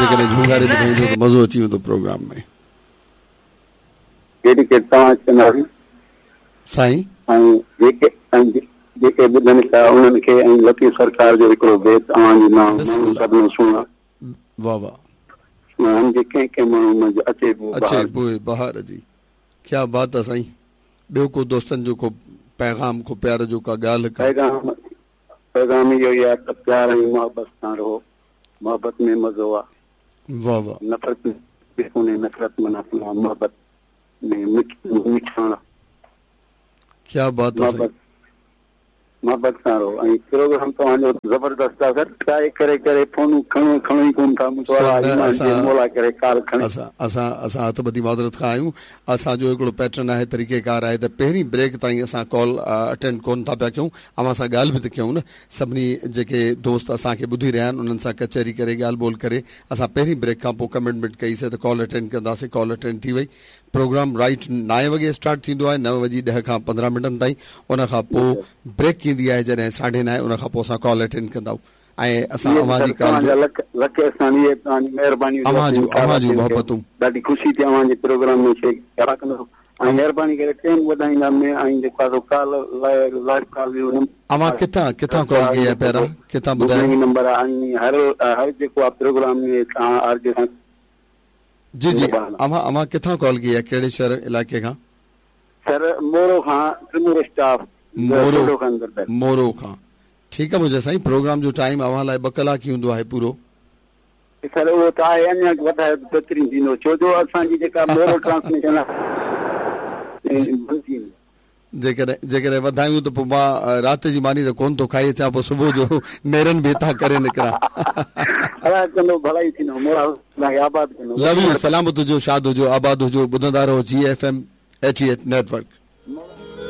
جيڪڏهن جهونگاري ٻڌائيندو ته مزو اچي ويندو پروگرام ۾. جيڪي توهان چوندا سائين. ۽ جيڪي ۽ جيڪي ٻڌن پيا انهن کي ۽ لطيف سرڪار جو هڪڙو بيت اوهان جي نانء بسم ماڻهو الله سڀني سهڻا. واه واه. سهڻا جي ڪنهن ڪنهن ماڻهو منجهه اچي بوء اچي بهار جي. بوء بهار جي ڪيا بات آ سائين ٻيو ڪو دوستن جو ڪو پيغام ڪو پيار جو ڪا ڳالهه ڪا. پيغام پيغام اهو ئي آ ته پيار ۽ محبت سان رهو محبت ۾ مزو آ. واه واه. نفرت ۾ ڪونهي نفرت معنيٰ محبت ۾ مٺاڻ. ڪيا بات آ سائين. محبت محبت سان رهو ۽ پروگرام توهان جو زبردست آ سر ٽرائي ڪري ڪري فونون کڻو کڻو ئي ڪون ٿا مون سر الله نه ايمان ڏي اسان مولا ڪري ڪال کڻي. اسان اسان اسان هٿ ٻڌي معذرت خواهه آهيون اسان جو هڪڙو پيٽرن آهي طريقي ڪار آهي ته پهرين بريڪ تائين اسان ڪال اٽينڊ ڪون ٿا پيا ڪيون اوهان سان ڳالهه به ته ڪيون نه سڀني جيڪي دوست اسان کي ٻڌي رهيا آهن انهن سان ڪچهري ڪري ڳالهه ٻولهه ڪري اسان پهرين بريڪ کان پوء ڪمٽمينٽ ڪئي سي ته ڪال اٽينڊ ڪنداسين ڪال اٽينڊ ٿي وئي پروگرام رائيٽ نائين وڳي اسٽارٽ ٿيندو آهي نو وڄي ڏهه کان 15 منٽن تائين ان کان پوء بريڪ ايندي آهي جڏهن ساڍي نائين ان کان پوء اسان ڪال اٽينڊ ڪندا آهيون ۽ اسان اهي اوهان سر جي ڪال توهان جو جا لک لک احسان اهي توهان جي مهرباني جو اوهان اسين جون اوهان جون کي محبتون. ڏاڍي خوشي ٿي اوهان جي پروگرام ۾ شرڪت ڪندو ۽ مهرباني ڪري ٽيم وڌائيندا ۾ ۽ جيڪو آهي سو ڪال لائيو ڪال جو نمبر اوهان ڪٿان ڪٿان ڪال ڪئي آهي پيارا ڪٿان ٻڌايو. بڪنگ نمبر آهي ۽ هر هر جيڪو آهي پروگرام ۾ توهان آر جي سان جي جي اوهان اوهان ڪٿان ڪال ڪئي آهي ڪهڙي شهر علائقي کان. سر مورو کان ٽمور اسٽاف مورو مورو کان ٺيڪ آ منهنجا سائين پروگرام جو ٽائيم اوهان لاء ٻه ڪلاڪ ئي هوندو آهي پورو. سر اهو ته آهي اڃا وڌايو ته بهترين ٿيندو ڇو جو اسان جي جيڪا مورو ٽرانسميشن آهي بند ٿي ويندي. جيڪڏهن جيڪڏهن وڌايون ته پوء مان رات جي ماني ته ڪونه ٿو کائي اچان پوء صبح جو نيرن به هتان ڪري نڪران. الله ڪندو ڀلائي ٿيندو مولا توهان کي آباد ڪندو. لو يو سلامت هجو شاد هجو آباد هجو ٻڌندا رهو جي F M 88 network.